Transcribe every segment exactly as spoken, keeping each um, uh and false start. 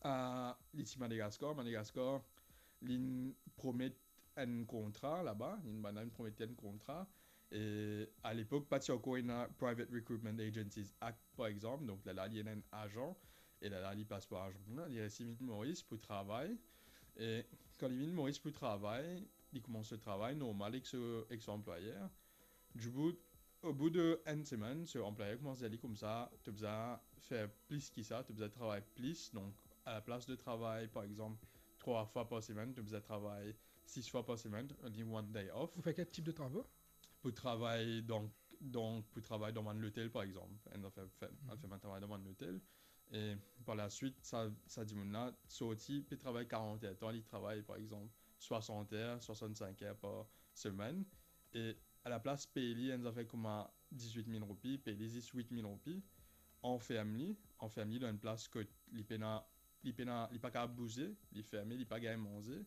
a, li ti Madagaskar. Madagaskar, linn promet enn kontra laba, linn bann la, linn promet enn kontra. E a lepok, pa ti ankor ena Private Recruitment Agencies Act, par exanp. Donk, lerla, li ena enn azan. E lerla, li pas par azan la, li resi vinn Moris pou travay. E kan li vinn Moris pou travay, li koumans so travay normal ek so, ek so anplwayer. Dibout, o bout de enn semenn, so anplwayer koumans dir li koumsa, to bizin fer plis ki sa, to bizin travay plis. Donk, a laplas de travay, par exanp, trwa fwa par semenn, to bizin travay sis fwa par semenn, only one day off. Pou fer kel tip de travo? Pou travay, donk, donk, pou travay dan bann lotel, par exanp. Enn zafer, fer, mhm, fer bann travay dan bann lotel. E par laswit, sa, sa dimoun la sorti, pe travay karant er tan, li travay, par exanp, swasant er, swasant-sink er par semenn. E a laplas pey li enn zafer kouma dizwit mil roupi, pey li zis wit mil roupi, anferm li, anferm li dan enn plas kot li pena, li pena, li pa kapav bouze, li ferme, li pa gagn manze,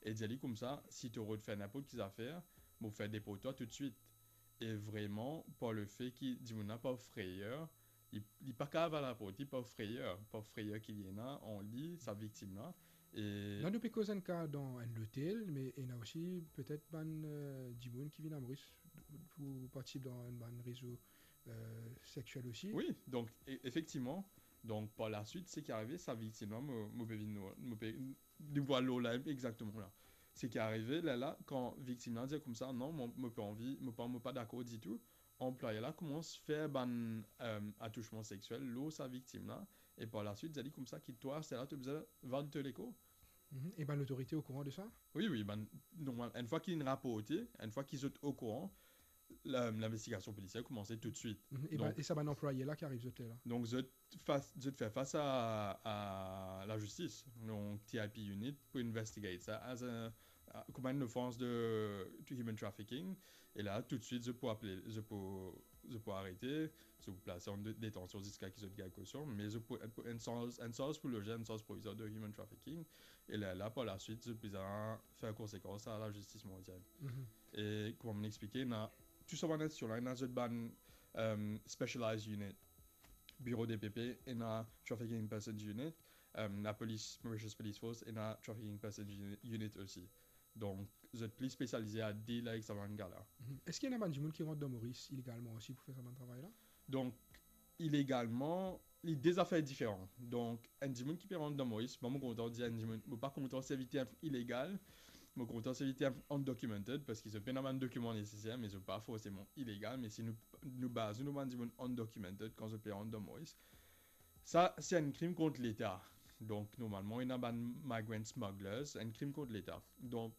e dir li koumsa, si to rod fer ninport ki zafer, mo fer deport twa toutswit. E vreman, par lefe ki dimoun la par frayer, li, li pa kapav al raport li par frayer, par frayer ki li ena an li, sa viktim la. E la, nou pe koz enn ka dan enn lotel, me ena osi petet bann, eh, dimoun ki vinn a Moris pou partisip dan enn bann rezo, eh, sexiel osi. Wi, donk, e-, efektivman, donk, par laswit, seki arive, sa viktim la, mo, mo pe vinn, mo pe, nou pou al lor la, exakteman la. Seki arive, lerla, kan viktim la dir koumsa, "Non, mo, mo pa anvi, mo pa, mo pa dakor ditou," anplwayer la koumans fer bann, eh, atousman sexiel lor sa viktim la, e par laswit, dir li koumsa ki twa, aster la, to bizin vann to lekor. Mhm. E bann lotorite okouran de sa? Wi, wi, bann, normal, enn fwa ki inn raporte, enn fwa ki zot okouran, la, linvestigasion polisier koumanse toutswit. Mhm. E bann, donk, e sa bann anplwayer la ki ariv zot ler la? Donk, zot fas, zot fer fas a, a lazistis, donk T I P unit, pou investigate sa, as a, a, kouma enn ofans de, to human trafficking. E la, toutswit, zot pou apel, zot pou, zot pou arete, zot pou plase an de-, detansion ziska ki zot gagn kosion, me zot pou, pou enn sarz, enn sarz pou loze, enn sarz provizwar de human trafficking. E la, la, par laswit, zot bizin fer konsekans a lazistis mondial. Mhm. E kouma mo'nn explike, ena tou sa bann institision la, ena zot bann, eh, specialized unit. Biro D P P, ena Trafficking in Persons Unit, eh, lapolis, Mauritius Police Force, ena Trafficking in Persons Uni-, Unit osi. Donk, zot pli spesialize a deal avek sa bann ka la. Mhm. Eski ena bann dimoun ki rant dan Moris ilegalman osi pou fer sa bann travay la? Donk, ilegalman, li de zafer diferan. Donk, enn dimoun ki pe rant dan Moris, mwa, mo kontan dir enn dimoun, mo pa kontan servi term ilegal, mo kontan servi term undocumented, parski zot pena bann dokiman neseser, me zot pa forseman ilegal, me si nou, nou baz nou lor bann dimoun undocumented, kan zot pe rant dan Moris, sa, se enn krim kont Leta. Donk, normalman, ena bann migrant smugglers, enn krim kont Leta. Donk,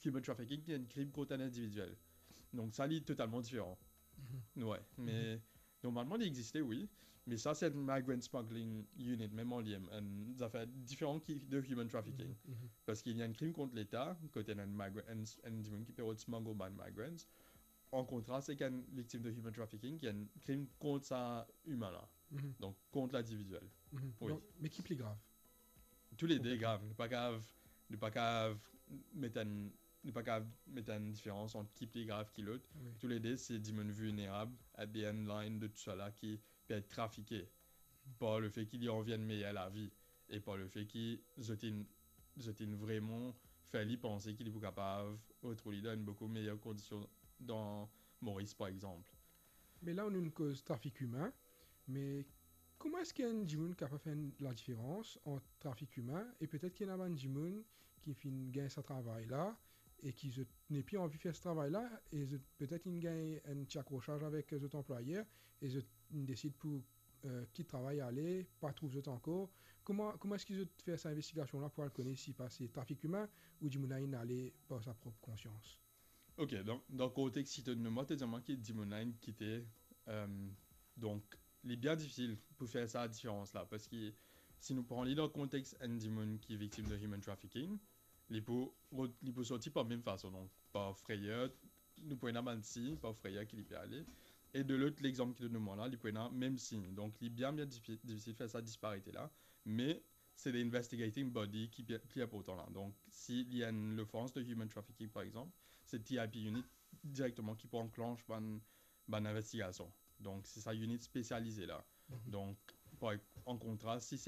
human trafficking, se enn krim kont enn individiel. Donk, sa, li totalman diferan. Mhm. Wi, me, mhm, normalman, li existe, wi, me sa, se enn migrant smuggling unit, mem an li mem, enn zafer diferan ki de human trafficking. Mhm, mhm. Parski li enn krim kont Leta, kot enn migra-, enn, enn dimoun ki pe rod smuggle bann migrants, an kontrast ek enn viktim de human trafficking, ki enn krim kont sa imin la. Mhm. Donk, kont lindividiel. Mhm. Wi. Donk, me ki pli grav? Toule de grav. Nou pa kapav, nou pa kapav met enn, nou pa kapav met enn diferans ant ki pli grav ki lot. Wi. Toule de, se dimoun vilnerab, at the end line de tou sa la, ki pe et trafike par lefe ki li anvi enn meyer lavi e par lefe ki zot inn, zot inn vreman fer li panse ki li pou kapav retrouv li dan enn boukou meyer kondision dan Moris, par exanp. Me la, nou koz trafik imin, me kouma eski enn dimoun kapav fer enn ladiferans ant trafik imin e petet ki ena bann dimoun ki finn gagn sa travay la e ki zot nepli anvi fer sa travay la e zot petet inn gagn enn ti akrosaz avek zot anplwayer e zot inn desid pou, eh, kit travay ale, pa trouv zot ankor? Kouma, kouma eski zot fer sa investigasion la pou al kone si pa se trafik imin ou dimoun la inn ale par sa prop konsians? Ok, donk, dan kontex ki to donn mwa, to dir mwa ki dimoun la inn kite, eh, donk, li bien difisil pou fer sa diferans la, parski si nou pran li dan kontex enn dimoun ki viktim de human trafficking, li pou rod-, li pou sorti par mem fason, donk, par frayer, nou pou ena bann sign, par frayer ki li pe ale. E de lot, lexanp ki to donn mwa la, li pou ena mem sign. Donk, li bien, bien difi-, difisil fer sa disparite la, me se the investigating body ki pli, pli inportan la. Donk, si li enn lofans de human trafficking, par exanp, se T I P unit direkteman ki pou anklanch bann, bann investigasion. Donk, se sa init spesialize la. Mhm. Donk, par, an kontrast, si se